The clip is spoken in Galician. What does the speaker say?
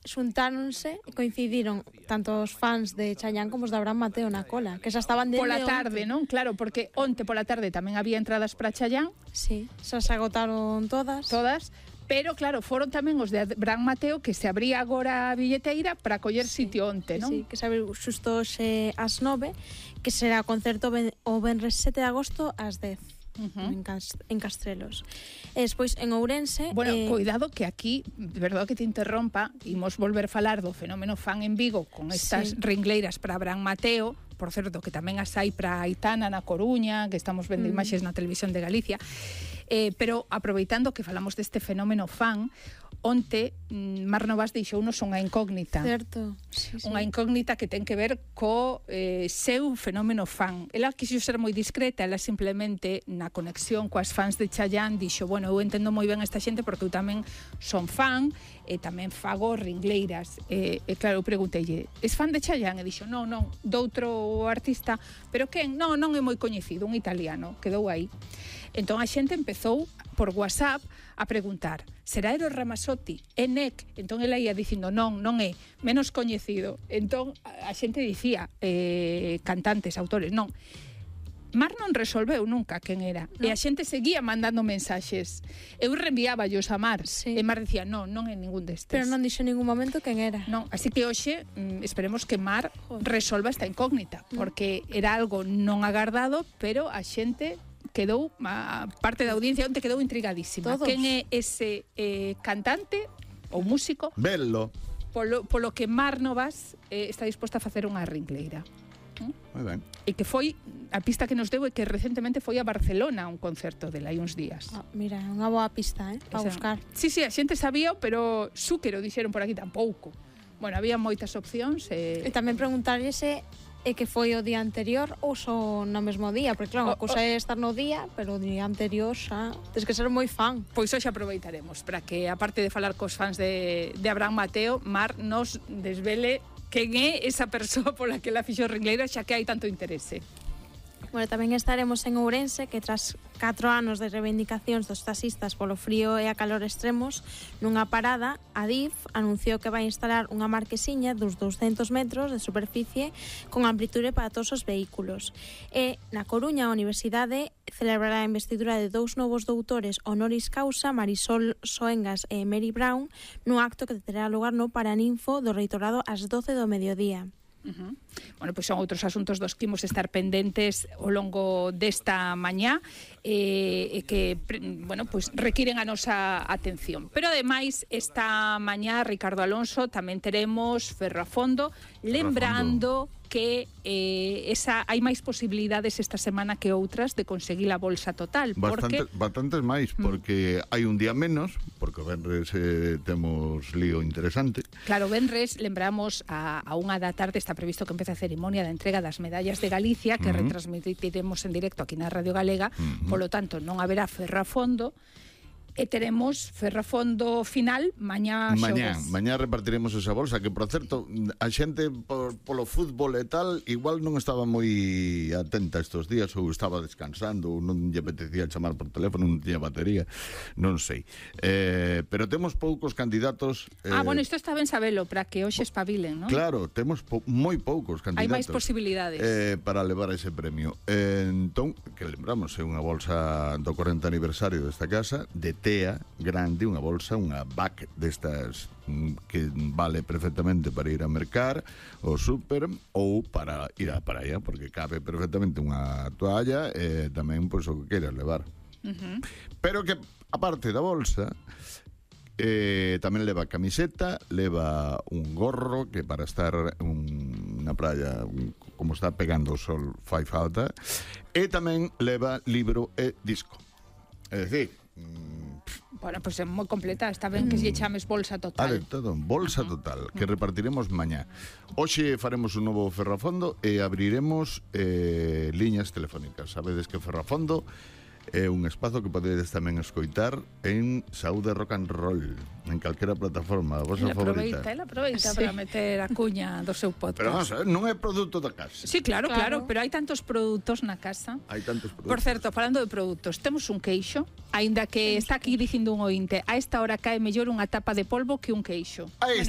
xuntáronse e coincidiron tanto os fans de Chayanne como os de Abraham Mateo na cola, que xa estaban dende Pola tarde, non? Claro, porque onte pola tarde tamén había entradas para Chayanne. Sí, xa se agotaron todas. Pero claro, foron tamén os de Abraham Mateo, que se abría agora a billeteira para coller sitio onte, non? Sí, que se abriu xusto hoxe ás 9, que será o concerto o venres 7 de agosto ás 10. En Castrelos. E despois en Ourense... Bueno, cuidado que aquí, de verdade que te interrompa, imos volver a falar do fenómeno fan en Vigo con estas ringleiras para Abraham Mateo, por certo, que tamén as hai para Aitana na Coruña, que estamos vendo imaxes na televisión de Galicia. Pero aproveitando que falamos deste fenómeno fan, onte Mar Novas deixounos unha incógnita. Certo. Sí. Unha incógnita que ten que ver co seu fenómeno fan. Ela quixo ser moi discreta, ela simplemente na conexión coas fans de Chayanne dixo, bueno, eu entendo moi ben esta xente porque eu tamén son fan e tamén fago ringleiras. E claro, eu pregunteille, es fan de Chayanne? E dixo, non, doutro artista, pero quen? Non é moi coñecido, un italiano, quedou aí. Entón a xente empezou por WhatsApp a preguntar, será Eros Ramazzotti? É NEC? Entón ela ia dicindo, non é, menos coñecido. Entón a xente dicía, cantantes, autores, non. Mar non resolveu nunca quen era. E a xente seguía mandando mensaxes. Eu reenviáballos a Mar. E Mar dicía, non é ningún destes. Pero non dixo en ningún momento quen era. Non, así que hoxe esperemos que Mar resolva esta incógnita, porque era algo non agardado, pero a xente quedou, a parte da audiencia onte quedou intrigadísima. Todos. Quen é ese cantante ou músico? Bello. Polo que Mar Novas está disposta a facer unha ringleira. Moi ben. E que foi, a pista que nos deu é que recentemente foi a Barcelona a un concerto dela hai uns días. Mira, unha boa pista, para buscar. Sí, a xente sabía, pero Zúquero dixeron por aquí tampouco. Bueno, había moitas opcións. E tamén preguntarlle se que foi o día anterior ou só no mesmo día, porque claro, a cousa é estar no día, pero o día anterior xa tens que ser moi fan. Pois hoxe aproveitaremos para que, aparte de falar cos fans de Abraham Mateo, Mar nos desvele quen é esa persoa pola que la fixo ringleira, xa que hai tanto interese. Bueno, tamén estaremos en Ourense, que tras 4 anos de reivindicacións dos taxistas polo frío e a calor extremos, nunha parada, a DIF anunciou que vai instalar unha marquesiña dos 200 metros de superficie con amplitude para todos os vehículos. E na Coruña, a Universidade celebrará a investidura de 2 novos doutores honoris causa, Marisol Soengas e Mary Brown, nun acto que terá lugar no Paraninfo do Reitorado ás 12 do mediodía. Bueno, pois son outros asuntos dos que imos estar pendentes ao longo desta mañá e que, bueno, pois requiren a nosa atención. Pero ademais, esta mañá, Ricardo Alonso, tamén teremos Ferrafondo, lembrando que hai máis posibilidades esta semana que outras de conseguir a bolsa total. Bastantes máis, porque hai un día menos, porque o venres temos lío interesante. Claro, venres, lembramos a 1 da tarde está previsto que empece a ceremonia da entrega das medallas de Galicia, que retransmitiremos en directo aquí na Radio Galega, polo tanto non haberá Ferrafondo. E teremos Ferrafondo final mañá xoves. Mañá repartiremos esa bolsa, que por certo, a xente polo fútbol e tal, igual non estaba moi atenta estes días, ou estaba descansando, ou non lle apetecía chamar por teléfono, non tiña batería, non sei. Pero temos poucos candidatos. Bueno, isto está ben sabelo, para que hoxe espabilen, non? Claro, temos moi poucos candidatos. Hai máis posibilidades. Para levar ese premio. Entón, que lembramos, é unha bolsa do 40 aniversario desta casa, de TEA grande, unha bolsa, unha back destas que vale perfectamente para ir a mercar o súper ou para ir á praia, porque cabe perfectamente unha toalla e tamén pois o que queiras levar. Pero que, aparte da bolsa, tamén leva camiseta, leva un gorro que para estar na praia como está pegando o sol fai falta, e tamén leva libro e disco. É dicir, bueno, pois é moi completa, está ben que lle chames bolsa total. Todo, bolsa total, que repartiremos mañá. Hoxe faremos un novo Ferrafondo e abriremos liñas telefónicas. Sabedes que Ferrafondo é un espazo que podedes tamén escoitar en Saúde Rock and Roll, en calquera plataforma, a vosa favorita. Ela aproveita para meter a cuña do seu podcast. Pero vamos a ver, non é produto da casa. Sí, claro, pero hai tantos produtos na casa. Hai tantos produtos. Por certo, falando de produtos, temos un queixo, aínda que está aquí dicindo un ointe, a esta hora cae mellor unha tapa de polvo que un queixo. Aí está.